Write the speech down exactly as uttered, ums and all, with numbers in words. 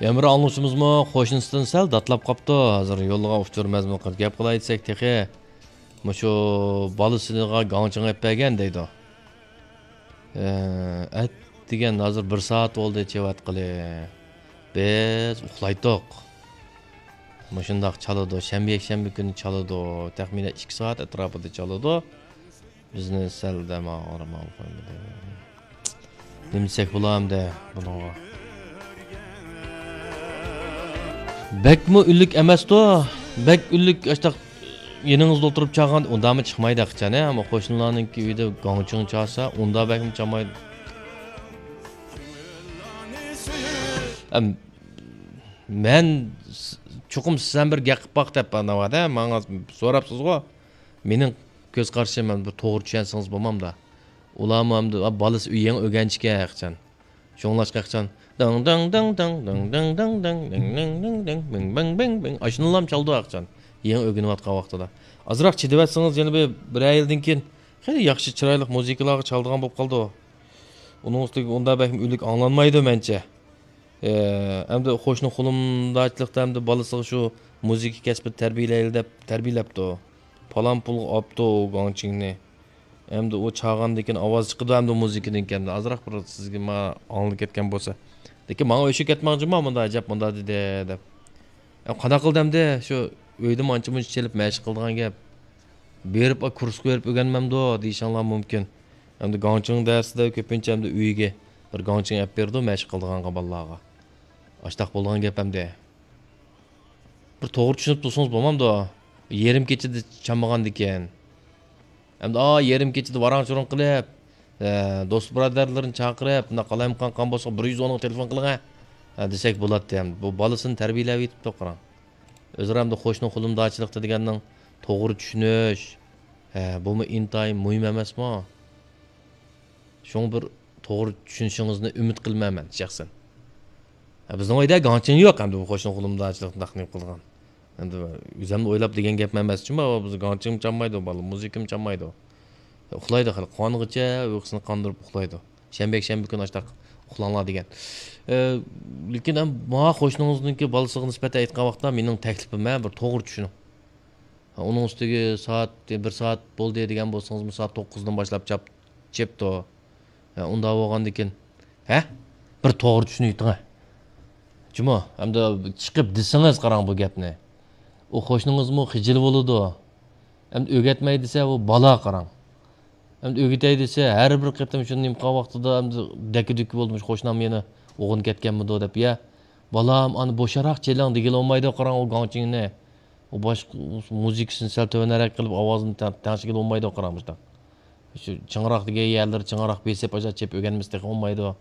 ئەمىر ئاڭلىغۇچىمىزمۇ قوشنىسىدىن سەل داتلاپ قاپتۇ. ھازىر يوللىغان ئۇچۇر مەزمۇن قىلىپ گەپ قىلاي دېسەك تېخى مۇشۇ بالىسىغا گاڭچىڭ ئېلىپ بەرگەن دەيدۇ. ئەتىگەن ھازىر بىر سائەت بولدى چېۋەتقىلى. بىز ئۇخلايتتۇق. مۇشۇنداق چالىدۇ، شەنبە، يەكشەنبە كۈنى چالىدۇ. تەخمىنەن ئىككى سائەت ئەتراپىدا چالىدۇ. بىزنى سەل دەم ئاغرىماي قويمىدى. نېمە دېسەك بولامدى بۇنىڭغا؟ بەكمۇ ئۈنلۈك ئەمەستۇ. بەك ئۈنلۈك ئاشتاق يېنىڭىزدا ئولتۇرۇپ چالغان ئۇنداقمۇ چىقمايدۇ ئەخچان، ھە؟ ئەمما قوشنىلارنىڭكى ئۆيىدە گاڭچىڭ چالسا، ئۇنداق بەكمۇ چالمايدۇ. ئەم، مەن س-، چوقۇم سىزەن بىر گەپ قىلىپ باق دەپ ئاناۋادا ماڭا سوراپسىزغۇ. مېنىڭ كۆز قارىشىم، مەن بىر توغرا چۈشەنسىڭىز بولمامدا. ئۇلارمۇ ئەمدى، ئا، بالىسى يېڭى ئۆگەنچىكەن ئەخچان. شۇڭلاشقا ئەخچان دىڭ دىڭ دىڭ دىڭ دىڭ دىڭ دىڭ دىڭ دىڭ دىڭ دىڭ بىڭ بىڭ بىڭ بىڭ ئاشۇنىلام چالىدۇ ئەخچان. يېڭى ئۆگىنىۋاتقان ۋاقتىدا. ئازراق چىدىۋەتسىڭىز، يەنە بىر، بىرەر يىلدىن كېيىن خېلى ياخشى، چىرايلىق مۇزىكىلارغا چالىدىغان بولۇپ قالىدۇ. ئۇنىڭ ئۈستىگە ئۇنداق بەكمۇ ئۈنلۈك ئاڭلانمايدۇ مەنچە. ئەمدى قوشنا قولۇمداچىلىقتا ئەمدى بالىسىغا شۇ مۇزىكا كەسپىنى تەربىيەلەيلى دەپ تەربىيەلەپتۇ. پالان پۇلغا ئاپتۇ ئۇ گاڭچىڭنى. ئەمدى ئۇ چالغاندىن كېيىن ئاۋاز چىقىدۇ ئەمدى مۇزىكىدىن كېيىن. ئازراق بىر سىزگە ما ئاڭلىنىپ كەتكەن بولسا. لېكىن ماڭا ئۆچۈپ كەتمەڭچىما مۇنداق ئەجەب مۇنداق دېدى دەپ. ئەم قانداق قىلدى ئەمدى شۇ ئۆيدىمۇ ئانچە مۇنچە چېلىپ مەشىق قىلىدىغان گەپ. بېرىپ، ئا، كۇرسقا بېرىپ ئۆگەنمەمدۇ دېيىشىڭلار مۇمكىن. ئەمدى گاڭچىڭ دەرسىدە كۆپىنچە ئەمدى ئۆيگە بىر گاڭچىڭ ئەپ بېرىدۇ مەشىق قىلىدىغانغا بالىلارغا. ئاشتاق بولىدىغان گەپ ئەمدى. بىر توغرا چۈشىنىپ تۇرسىڭىز بولمامدۇ؟ يېرىم كېچىدە چالمىغاندىكىن. ئەمدى، ئا، يېرىم كېچىدە ۋاراڭ-چۇرۇڭ قىلىپ، ئە، دوست بۇرادەرلىرىنى چاقىرىپ، بۇنداق قالايمىقان قىلغان بولسا، بىر يۈز ئونغا تېلېفون قىلىڭە، ئە، دېسەك بولاتتى. ئەمدى بۇ بالىسىنى تەربىيەلەۋېتىپتۇ، قاراڭ. ئۆزئارا ئەمدى قوشنا قولۇمداچىلىقتا دېگەننىڭ توغرا چۈشىنىش، ھە، بۇمۇ ئىنتايىن مۇھىم ئەمەسمۇ؟ شۇڭا بىر توغرا چۈشىنىشىڭىزنى ئۈمىد قىلىمەن مەن شەخسەن. ھە، بىزنىڭ ئۆيدە گاڭچىڭ يوق، ئەمدى بۇ قوشنا قولۇمداچىلىقنى تەقدىم قىلغان. ئەمدى ئۆزۈمنى ئويلاپ دېگەن گەپ ئەمەس. چۈنكى بىز گاڭچىڭمۇ چالمايدۇ، بالا مۇزىكىمۇ چالمايدۇ. ئۇخلايدۇ خېلى، قانغىچە ئۇيقۇسىنى قاندۇرۇپ ئۇخلايدۇ. شەنبە، يەكشەنبە كۈنى ئاشتاق ئۇخلاڭلار دېگەن. ئە، لېكىن ھەم ماڭا قوشنىڭىزنىڭكى بالىسىغا نىسبەتەن ئېيتقان ۋاقىتتا مېنىڭ تەكلىپىم، ھە، بىر توغرا چۈشىنىڭ. ھە، ئۇنىڭ ئۈستىگە سائەت بىر سائەت بولدى دېگەن بولسىڭىزمۇ، سائەت توققۇزدىن باشلاپ چاپ-، چېپتۇ. ھە، ئۇنداق بولغاندىكىن، ھە؟ بىر توغرا چۈشىنىۋېتىڭە. جۇمۇ، ئەمدى چىقىپ دېسىڭىز قاراڭ بۇ گەپنى. ئۇ قوشنىڭىزمۇ خىجىل بولىدۇ. ئەمدى ئۆگەتمەي دېسە، ئۇ بالا قاراڭ. ئەمدى ئۆگىتەي دېسە، ھەر بىر قېتىم شۇنى نېمە قىلغان ۋاقتىدا ئەمدى دەككە-دۈككە بولدى، مۇشۇ قوشنام يەنە ئوغرىنى كەتكەنمىدۇ دەپ، يا، بالام، ئانا بوشراق چېلىڭ دېگىلى بولمايدۇ، قاراڭ، ئۇ گاڭچىڭنى. ئۇ باشقا مۇزىكىسىنى سەل تۆۋەنرەك قىلىپ، ئاۋازىنى تەڭ-، تەڭشىگىلى بولمايدۇ، قاراڭ، مۇشۇنداق. شۇ چىڭراق دېگەن يەرلىرى چىڭراق بېسىپ، ئاشۇ چېپ ئۆگەنمىسە تېخى بولمايدۇ.